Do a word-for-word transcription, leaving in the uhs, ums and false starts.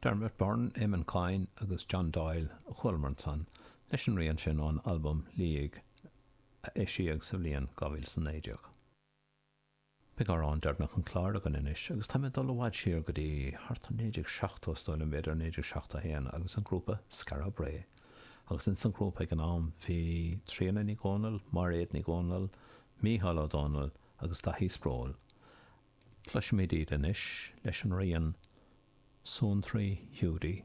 Dermot Byrne, Eamon Coyne agus John Doyle a chualamar ansan leis an rian sin ón albam Liaigh a eisíodh sa bhliain dhá mhíle is a naoi déag. Beidh amhrán deireanach an chláir againn anois agus tá mé ag dul i bhfad siar go dtí thart ar naoi déag seachtó is dóigh liom, b'fhéidir naoi déag seachtó a haon agus an grúpa Skara Brae. Agus ins an ghrúpa ag an am bhí Tríona Ní Dhomhnaill, Máiréad Ní Dhomhnaill, Mícheál Ó Domhnaill agus Daithí Sproule. Cloisfimid iad anois leis an rian Suantraí Hiúdaí.